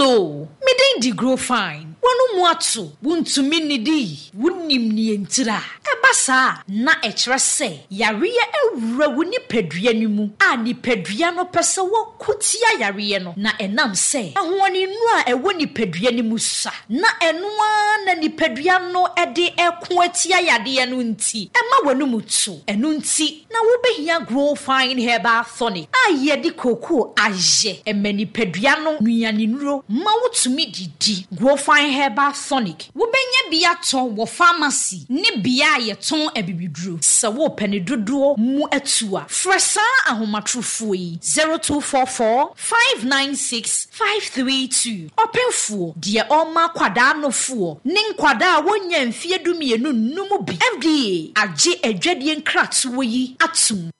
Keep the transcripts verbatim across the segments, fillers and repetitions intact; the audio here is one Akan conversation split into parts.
Hello, me din de Grow Fine. Wɔn mu ato, wontumi nnidi, wonim nea ntira. Ɛba saa na ɛkyerɛ sɛ yareɛ awura wo nipadua no mu a nipadua no pɛ sɛ wɔko tia yareɛ no na ɛnam sɛ ahoɔninu a ɛwɔ nipadua no mu sa na ɛno ara na nipadua no ɛde ɛko atia yadeɛ no nti ɛma wɔn mu to. Ɛno nti na wobɛhia Grow Fine Herbal Tonic a yɛde kookoo ayɛ ɛma nipadua no nnuanennuro ma wotumi didi. Grow Fine Herbal Tonic wobɛnya bi atɔ wɔ pharmacy ne bea a yɛtɔn abibiduro. Sɛ wopɛ ne dodoɔ mu atu a, frɛ saa ahomatorofoɔ yi zero two four four five nine six five three two. Ɔpɛnfoɔ deɛ ɔma akwadaa nofoɔ ne nkwadaa a wɔnya mfeɛ du mmienu nnum bi. F D A agye adwadie nkratoɔ yi atom.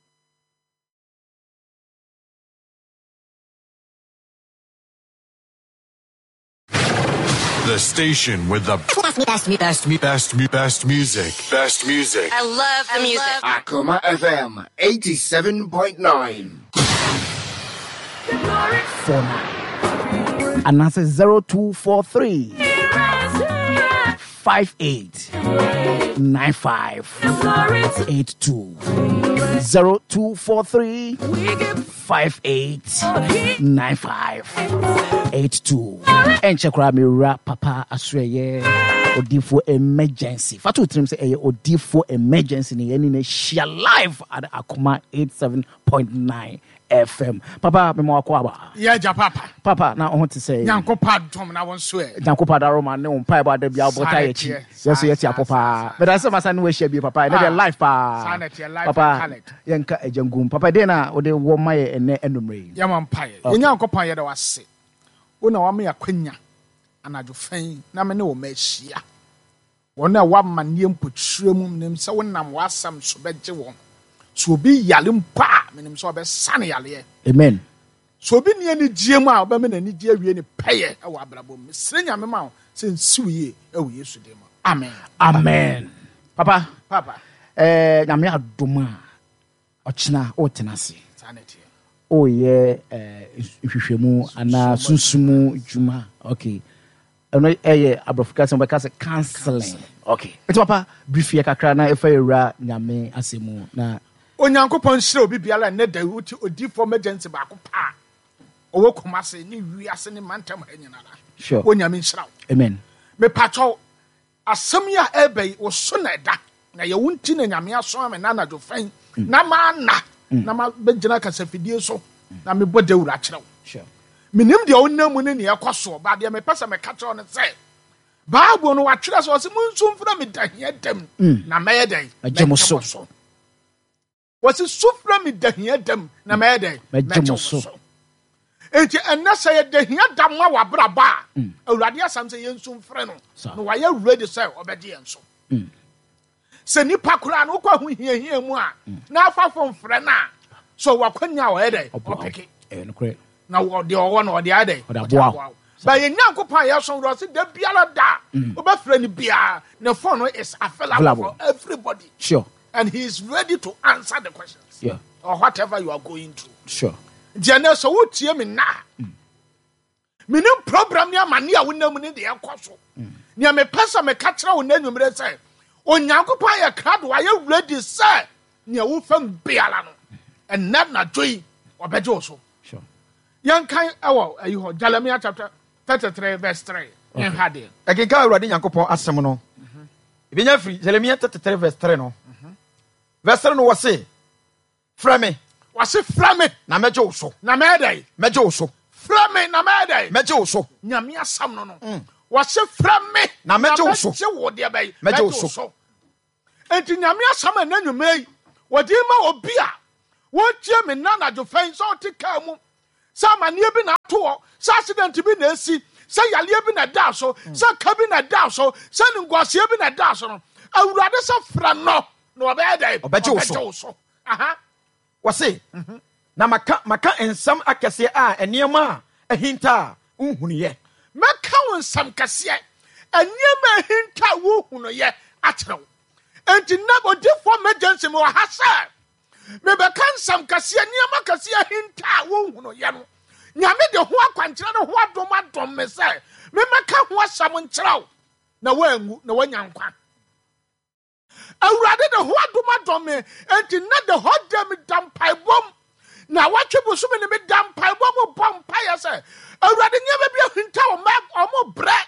The station with the best, best, best, best, best music. Best music. I love the music. Akoma F M eighty-seven point nine. Four nine. And that's zero two four three five eight nine five eight two. Zero two four three five eight nine five eight two. Enche kra mi ra papa asreye Odifo emergency. Fatu trim say eh Odifo emergency ni eni ne share live at Akoma eighty-seven point nine F M. Papa me mo akwa. Yeah, ja papa. Papa na on to say. Nyankopa dom na won so e. Nyankopa da Roma ne on pa ba da bia obota ye chi. Yes, yes, ya papa. But I say masa no we bi papa. Na live pa. Papa yenka ejangum. Papa de na o de wo ma ye ene enumre. Ya man pa ye. Nyankopa ye da wase. Wo na wa me akwanya anadwo fan na me ne wo ma hia. Wo na wa ma ne mpotire mu nim se wo nam wasam so begye wo. So obi yale mpa menim so obesane yale. Amen. So obi ne ani gie mu a obeme na ani gie wie ne peye e wa abrabom. Mesre nyame ma wo se nsiw ye e wo Yesu dem. Amen. Amen. Papa. Papa. Eh nyame adom a ochina o tenase. Sanity. Oh yeah, eh hwehwemu ana sunsumu dwuma. Okay. Eno eh abrofika se obeka se counseling. Okay. Eti papa brief ye kakra na efa ewura nyame asemu na Onyankopɔn hyira obi biara ne da wuti Odifo emergency ba ko pa. Owo Kumase ne wiase ne mantam ha nyinara. Sure. Onyame nhyira wo. Amen. Me pacho asɛm ya ebe wo so na da na ye wunti na nyame aso ame na anadwo fan na ma na na ma begyina kasafidie so na me bɔ dawura kyerɛ wo. Sure. Menim de onnam ne ne ekɔ ba de me pese me ka kyerɛ no sɛ Bible no wa kyerɛ so ɔse munsu mfra me dahia dam na mɛyɛ dɛn mɛgye mo so. Wɔsi sufra mi dahia dam na mɛyɛ dɛn mɛgye mo so. Enti ɛnɛ sɛ yɛ dahia dam ma wabraba a Awurade asɛm sɛ yɛnsu mfrɛ no na wayɛ ready sɛ ɔbɛgye yɛn so. Sɛ nipa koraa no wokɔ ho hiahia mu a na afafo mfrɛ no a so wakwanya a ɔyɛ dɛn ɔpeke na ɔde ɔwɔ no ɔde ayɛ dɛn ɔde aboa wo. Ba yɛ Nyankopɔn a yɛsom no ɔse da biara da wobɛfrɛ no biara ne phone no is available for everybody. Sure. And he is ready to answer the questions. Yeah. Or whatever you are going through. Sure. Jene so wo tie me na. Menim program ni amane a wonam ni de ekoso. Nia me pesa me ka kire wo na nwumre se Onyankopɔn ye krado aye ready se nia wo fam biara no. Enna na joy obeje wo so. Sure. Yan kan ewo ayi ho Jeremiah chapter thirty-three verse three. En ha de. Ekenka Awurade Nyankopɔn asɛm no. Ebenya firi Jeremiah thirty-three verse three no. Verse three no wɔ se frɛ me. Wɔ se frɛ me. Na mɛgye wo so. Na mɛdai. Mɛgye wo so. Frɛ me na mɛdai. Mɛgye wo so. Nyame asɛm no no. Wɔ se frɛ me. Na mɛgye wo so. Mɛgye wo de bɛyi. Mɛgye wo so. Enti nyame asɛm na nwumre yi. Wɔde ma obi a wɔtie me na anadwo fɛn sɛ ɔte kaa mu. Sɛ amaneɛ bi na ato hɔ, sɛ accident bi na esi, sɛ yaleɛ bi na da so, sɛ ka bi na da so, sɛ nguaseɛ bi na da so no. Awurade sɛ frɛ no na ɔbɛyɛ dɛn? Ɔbɛgye wo so. Ɔbɛgye wo so. Aha. Wɔse, na maka, maka nsɛm akɛseɛ a nneɛma a ahinta a wonhunuyɛ. Mɛka wo nsɛm kɛseɛ, nneɛma a ahinta a wonhunuyɛ akyerɛ wo. Enti na Odifo emergency me wɔ ha sɛ mebɛka nsɛm kɛseɛ, nneɛma kɛseɛ ahinta a wonhunuyɛ no. Nyame de ho akwankyerɛ ne ho adom adom me. me sɛ memɛka ho asɛm nkyerɛ wo na woanwu na woanya nkwa. Awurade de ho adom adɔm me, enti na de hɔ da me da mpaebɔm na wɔtwe bosome ne me da mpaebɔm bɔ mpaeɛ sɛ Awurade nneɛma bi ahinta wɔ mma ɔmo brɛ.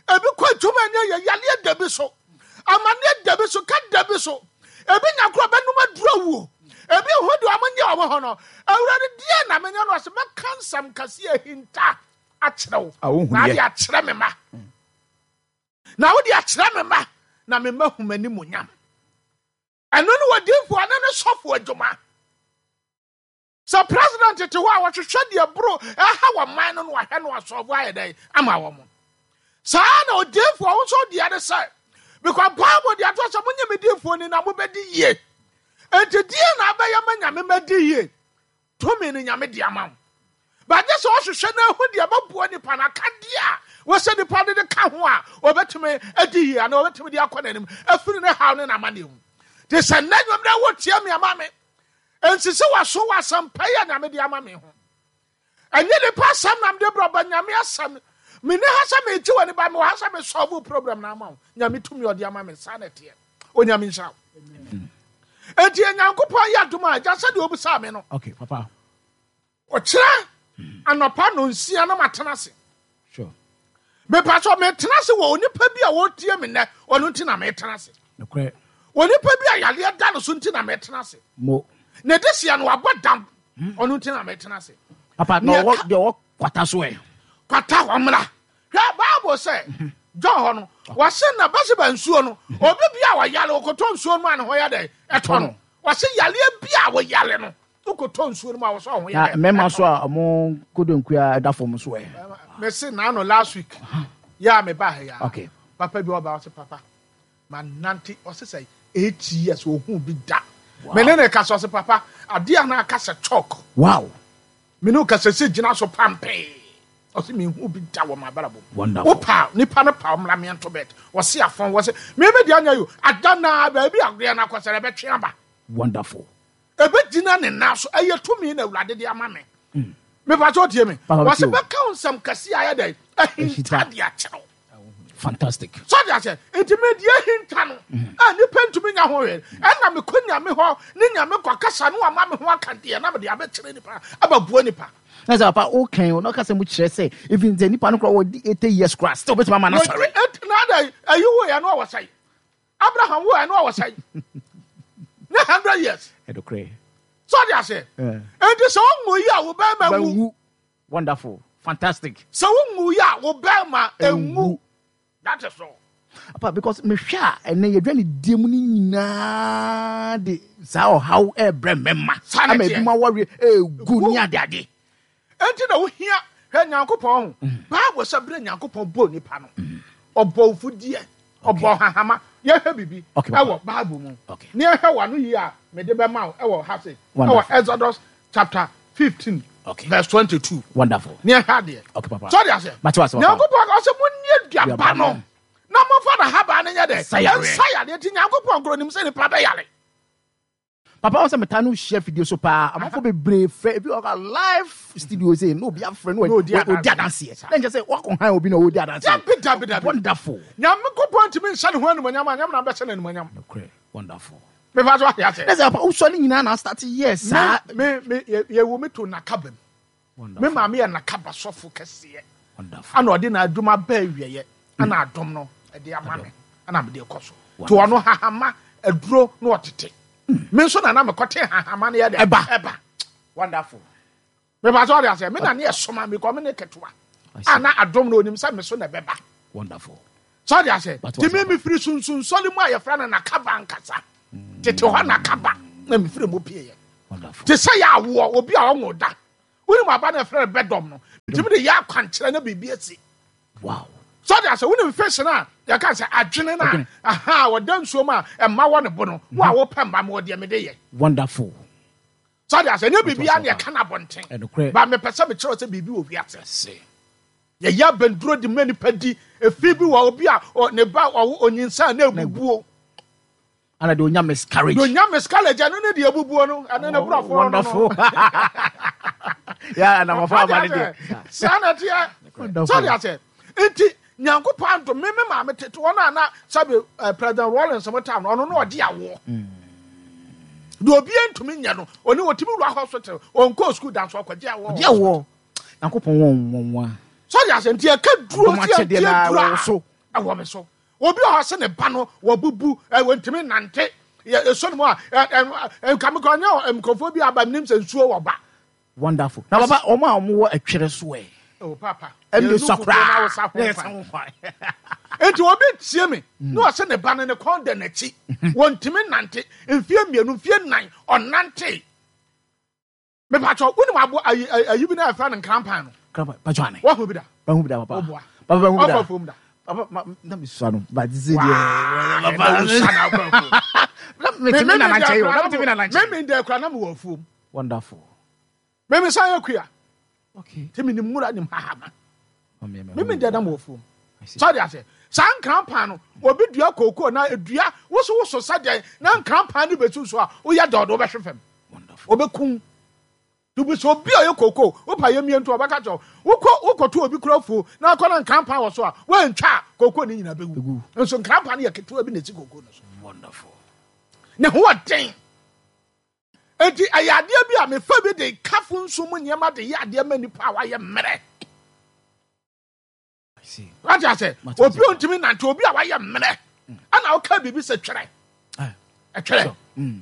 Ebi kɔ adwuma nyɛ yɛ yaleɛ da bi so, amanneɛ da bi so, ka da bi so, ebi nya korɔ bɛnum aduro wuo, ebi ho de ɔmo nyɛ ɔmo ho no. Awurade deɛ na menyɛ no ɔsɛ mɛka nsɛm kɛseɛ ahinta akyerɛ wo na ade akyerɛ me ma na wode akyerɛ me ma na me ma hu m'animuonyam. Ɛno ne wɔdiifoɔ ne ne sɔfo adwuma. Sɛ president te hɔ a wɔhwehwɛ deɛ boro ɛha wɔ man no no wahwɛ no asɔfo ayɛ dɛn ama wɔn. Saa na odiifoɔ wo nso deɛ ne sɛ because Bible deɛ ato sɛ monyɛ me diifoɔ ni na mobɛdi yie. Enti deɛ na abɛyɛ ma Nyame madi yie, tumi no Nyame de ama wo. Bagye sɛ ɔhwehwɛ no ahu deɛ bɛboa nipa no akadeɛ a wɔsɛ nipa no de ka ho a ɔbɛtumi adi yie anaa ɔbɛtumi de akɔ n'anim afiri ne haw ne n'amanneɛ mu. Te sɛ nnɛ nnwom na wɔtie me ama me nsisi w'aso wɔ asɛmpa yi a Nyame de ama me ho. Ɛnyɛ nipa asɛm na mede brɛ ba Nyame asɛm. Mene ha sɛ megye w'ani ba mewɔ ha sɛ mesɔlve problem na ama wo. Nyame tumi ɔde ama me saa na ɛteɛ. Onyame nhyira wo. Enti Nyankopɔn yɛ adom a agya sɛdeɛ obisaa me no. Okay, papa. Ɔkyerɛ anɔpa no nsia na matena ase. Sure. Mepa sɛ metena ase wɔ onipa bi a wɔtie me nnɛ, ɔno nti na metena ase. Nokorɛ. Onipa bi a yareɛ da no so nti na metena ase. Mo. Na de sia no wabɔ dam, ɔno nti na metena ase. Papa, na ɔwɔ deɛ ɔwɔ kwata so ɛ. Kwata ɔmmra. Hwɛ Bible sɛ John hɔ no, wɔse na Bɛseba nsuo no, obi bi a wɔyare wɔkɔtɔ nsuo no a ne ho yɛ dɛ ɛtɔ no. Wɔse yareɛ bi a wɔyare no, wokɔtɔ nsuo no mu a wɔsɛ ɔho yɛ dɛ. Mmarima so a ɔmo kodonkua ɛda fam so ɛ. Mese na no last week yɛ a meba ha ya. Okay. Papa bi ɔba ɔse papa manante ɔse sɛ eight years ohun bi da. Me ne ne kasa ɔse papa adeɛ a na aka sɛ chalk. Wow. Me ne kasa sɛ gyina so pampee. Ɔse me hu bi da wɔ m'abrabɔ mu. Wonderful. Wo pa nipa no pa ɔmra me nto bed. Ɔse afɔn wɔse me me deɛ anya yo ada na baabi adeɛ na akɔsɛ ɛbɛtwe aba. Wonderful. Ɛbɛgyina ne nan so ɛyɛ tumi na Awurade de ama me. Mepa sɛ ɔtie me. Wɔse bɛka wo nsɛm kɛse a ɛyɛ dɛn ahinta de akyerɛ wo. Fantastic. So de ahyɛ nti me deɛ ahinta no a nipa ntumi nya ho hwee ɛna mekɔ Nyame hɔ ne Nyame kɔ kasa no ama me ho aka deɛ na mede abɛkyerɛ nipa abɛboa nipa. Na sɛ papa o kan o na ɔka sɛ mo kyerɛ sɛ even sɛ nipa no kora wɔdi eighty years kora still bɛtumi ama no asɔre. Na ada ayi wo yɛ no ɔwɔ sɛe Abraham wo yɛ no ɔwɔ sɛe ne hundred years. Ɛdokorɛ. So de ahyɛ nti sɛ ɔnwu yi a wo bɛrima wu. Wonderful. Fantastic. Sɛ wonwu yi a wo bɛrima enwu. That is all. Papa, because mehwɛ a ɛnɛ yɛdwa ne die mu no nyinaa de saa ɔhaw ɛbrɛ mmarima ama ebi mu awareɛ egu ne adeade. Enti na wohia hwɛ Nyankopɔn ho. Bible sɛ bere Nyankopɔn bɔɔ nipa no, ɔbɔ ofudeɛ, ɔbɔ hahama. Yɛhwɛ bibi ɛwɔ Bible mu. Ne yɛhwɛ wano yi a mede bɛma wo ɛwɔ ha se ɛwɔ Exodus chapter fifteen. Okay. Verse twenty-two. Wonderful. Ne yɛhwɛ adeɛ. Okay, papa. So de ase. Nyankopɔn ɔsɛ mo nie duaba no. Na momfa na haba no nyɛ dɛ. Nsa yareɛ. Nsa yareɛ nti Nyankopɔn koro nim sɛ nipa bɛyare. Papa wɔn sɛ metaa no hyia video so paa amanfo bebree frɛ ebi wɔ live studio sɛ na obi afrɛ no odi adanseɛ na nkyɛn sɛ wakɔ han obi na odi adanseɛ. Dabi dabi dabi. Wonderful. Nyankopɔn ntumi nhyɛ ne ho animuonyam a Nyame na bɛhyɛ no animuonyam. Nokorɛ. Wonderful. Mefa so ate ase. Na sɛ papa wosɔ ne nyinaa na start yɛ saa. Me me yɛ wo me to nakaba mu. Me maame yɛ nakaba sɔfo kɛseɛ. Wonderful. Ana ɔde na adwuma bɛɛ wieɛ ana adom no ɛde ama me ana mede kɔ so. To ɔno hahama aduro na ɔtete. Me nso na na mekɔte hahama no yɛ dɛ. Ɛba. Ɛba. Wonderful. Mefa so ate ase. Me na ne ɛsoma me kɔ me ne ketewa. Ana adom no onim sɛ me so na ɛbɛba. Wonderful. So de ase. Ti me me firi sunsun sɔle mu a yɛfrɛ no nakaba nkasa. Tete hɔ nakaba na me firi mu pie yɛ. Te sɛ yɛ awoɔ obi a ɔnwo da. Wonim aba na yɛfrɛ no bɛdɔm no. Ntimi de yɛ akwankyerɛ na biribi asi. Wow. So de ase wonim fish na yɛka sɛ adwene na aha wɔda nsuo mu a ɛma wɔ ne bo no. Wo a wopɛ mma me wɔ deɛ mede yɛ. Wonderful. So de ase ɛnyɛ biribi a na yɛka no abɔnten. Ba mepɛ sɛ mekyerɛ sɛ biribi wɔ wiase. Yɛyɛ abɛnduro de ma nipa di efi bi wɔ obi a ne ba ɔwo onyinsa na ebubuo. Ana de onya miscarriage. De onya miscarriage ɛno ne de ebubuo no ɛno ne borɔfo no. Wonderful. Yeah, na mafa ama ne deɛ. Saa na ɛteɛ. Sɔde asɛ nti Nyankopɔn adom me me maame tete wɔn a na sɛbi eh, President Rawlings mo tam no, ɔno na ɔgye awoɔ deɛ obiara ntumi nyɛ no, ɔne ɔtumi wura hospital, ɔnkɔɔ sukuu da nso ɔkɔgye awoɔ. Ɔgye awoɔ. Nyankopɔn wɔn wɔn wa. Sɔde asɛ nti ɛka duro Adom si akyɛdeɛ ɛnti na duro ɛwɔ a so. Ɛwɔ me so. Obi a ɔsɛ ne ba no wɔbubu, ɛ, wɔntumi nante, yɛ ɛsɔ ne mu a, ɛ, ɛ, ɛ, nka me kɔ nyɛ nkurɔfoɔ bi aba nim sɛ nsuo wɔ ba. Wonderful. Na papa, ɔmo a ɔmo wɔ ɛtwerɛ so ɛ. Oh, papa. Ɛmu de Yɛn sɔ nufu koraa. na wosa ho Na kwan. yɛsa ho kwan. Nti obi tie me na ɔsɛ ne ba no ne kɔn da n'akyi, wɔntumi nante, mfie mmienu, mfie nnan ɔnante. Mepatwɔ, wonim abo ayi ayi ayi bi na yɛfrɛ no nkrampan no? Krampan, patwɔ ane. Wahu bi da? Bahu bi da, papa. Woboa. Papa, bahu bi da. Ɔkɔ afuom da? Papa, ma, na me sua no, but this is Waa, deɛ. na Papa, wosua na akɔ afuom. Na metumi na nankyɛn o, na metumi na nankyɛn. Meme deɛ kura na mewɔ afuom. Wonderful. Meme san yɛ kua. Okay. Nti menim nwura, nim hahama. Meme Meme deɛ na mewɔ afuom. Sɔde ase saa nkrampan no, obi dua kookoo na edua wosowoso sɛdeɛ na nkrampan no bɛsu so a, woyɛ dɔɔdo wobɛhwe fam. Wonderful. Obɛkum dubi sɛ obi a ɔyɛ kookoo wopa yɛ mmiɛntu ɔbɛka kyerɛ wo, wokɔ wokɔto obi kura afuo na akɔ na nkrampan wɔ so a, woantwa a, kookoo no nyinaa bɛwu. Bɛwu. Nso nkrampan no yɛ ketewa bi na ɛsi kookoo no so. Wonderful. Ne ho ɔden. Enti ɛyɛ adeɛ bi a mefa bi de kafo nso mu nneɛma de yɛ adeɛ ma nipa a wayɛ mmerɛ. I see. Wate ase? Mate Obi ase. a ontumi nante, obi a wayɛ mmerɛ, ɛna woka biribi sɛ twerɛ. Ah. Ɛtwerɛ. So, mm.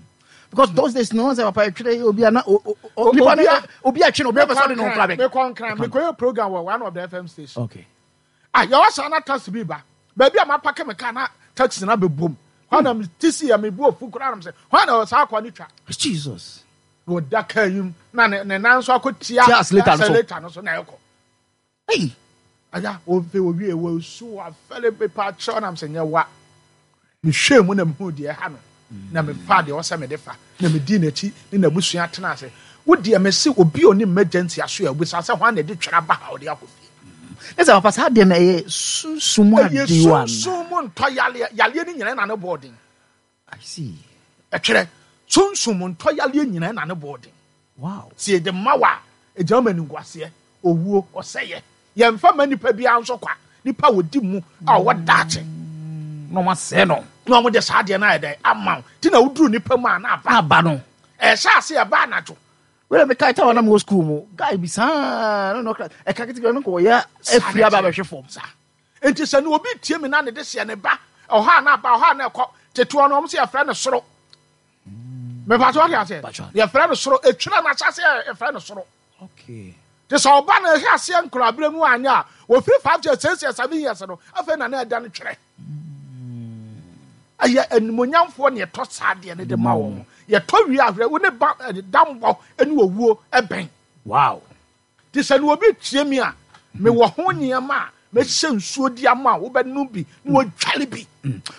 Because those days, no one said, Papa, twerɛ, obi a na, o- o- o- O- nipa no- obi a- obi a twerɛ, obi a pɛ sɛ ɔde ne ho kora bɛ. Mekɔ Nkran, mekɔyɛ program wɔ one of the F M station. Okay. Ah, yɛwɔ saa na taxi bi ba baabi a mapake me car na taxi na bɛbom hɔ na mete si yɛ mebu ofu koraa nam sɛ hɔ na saa akɔ ne twa. Jesus. Na ɔda kaa yi mu na ne ne nan nso akɔ tia Tia accelerator no so. Accelerator no so na ɛkɔ. Hey. Aya, ofe owie wɔ su afɛle pepa kyerɛ nam sɛ nyɛ wa mehwɛ mu na mehu deɛ ɛha no na mefa deɛ ɔsɛ mede fa na medi n'akyi ne n'abusua tena ase. Wo deɛ, mese obi a ɔne emergency aso yɛ obisa sɛ hwan na ɛde twɛrɛ aba ha ɔde akɔ fie. Ne sɛ papa, saa deɛ no ɛyɛ sunsum ɛyɛ adeɛ wa. Sunsum mu ntɔ yaleɛ, yaleɛ no nyinaa na ne bɔɔden. I see. Ɛtwerɛ sunsum mu ntɔ yaleɛ nyinaa na ne bɔɔden. Wow. Si yɛde ma wa a, ɛgyina ma animguaseɛ, owuo, ɔsɛyɛ. Yɛmfa ma nipa biara nso kwa, nipa a wɔdi mu a ɔwɔ daakye Na ɔmo asɛe no. Na ɔmo de saa adeɛ no ayɛ dɛ ama wo, nti na woduru nipa mu a na aba. Aba no. Ɛhyɛ ase ɛba anadwo. Wẹ́rẹ́ mi kaa táwọn náà mi wɔ school mu guy bi saa no no ɛka ketekete no kò wɔyɛ efiri aba abɛhwɛ fam. Saa nti sɛ ne obi tie mi na ne de seɛ ne ba ɔha na aba ɔha na ɛkɔ tetewa no, ɔmo sɛ yɛfrɛ no soro. Mepatɛ ɔde aseɛ. Patro. Yɛfrɛ no soro, etwira no ahyɛ aseɛ, yɛfrɛ no soro. Okay. Te sɛ ɔba no ɛhwɛ aseɛ nkora abere mu anyɛ a, wɔfiri five years, six years, seven years no, afei na na ɛda no twerɛ. Ɛyɛ animonyamfoɔ ne yɛtɔ saa adeɛ no de ma wɔn. Yɛtɔ wie ahwɛ wo ne ba ɛ, dambɔ ne owuo ɛbɛn. Wow. Te sɛ ne obi tie mi a, mewɔ ho nneɛma a mɛhyɛ nsuo di ama a wobɛnom bi na wɔdwale bi.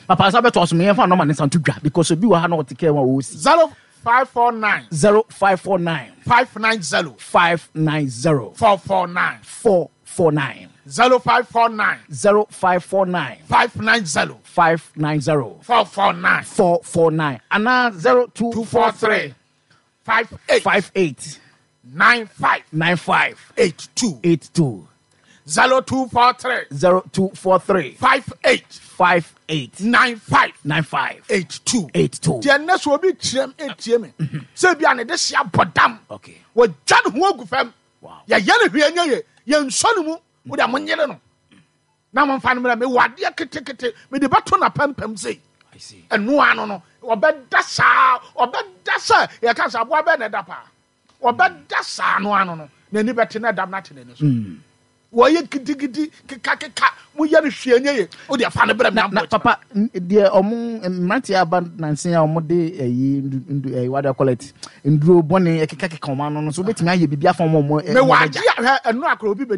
Papa, sa bɛtɔ so meyɛmfa nɔma ne nsa nto dwa because obi wɔ ha na ɔte kɛ ma ɔsi. Zero five four nine zero five four nine five nine zero five nine zero four four nine four four nine zero five four nine zero five four nine five nine zero five nine zero four four nine four four nine anaa zero two two four three five eight five eight nine five nine five eight two eight two zero two four three zero two four three five eight five eight nine five nine five eight two. eight two. Deɛ nnɛ so obi kyerɛ m etie me sɛ bi a ne de hyia bɔ dam, Okay. wɔgya ne ho agu fam, Wow. yɛyɛ ne hwee nyɛ ye, yɛnsɔ ne mu, wode monyere no na momfa no mmerɛ. Mewɔ adeɛ ketekete mede bɛto napampam sei. I see. Ɛnoa no no ɔbɛda saa, ɔbɛda sɛ yɛka sɛ aboa bɛɛ na ɛda paa, ɔbɛda saa no ano no n'ani bɛte na ɛdam no ate n'ani so. Wɔyɛ gidigidi kekakeka, moyɛ no hwee nyɛ ye, wode afa no brɛ me. Na na papa, n- deɛ ɔmo mmeranteɛ aba nansen a ɔmo de ɛyi ndu ndu ɛyi what do you call it, nduro bɔne ɛkekakeka ɔmo ano no so, wobɛtumi ayɛ biribi afa ɔmo ɔmo mewɔ adeɛ a hwɛ ɛno akora obi bɛ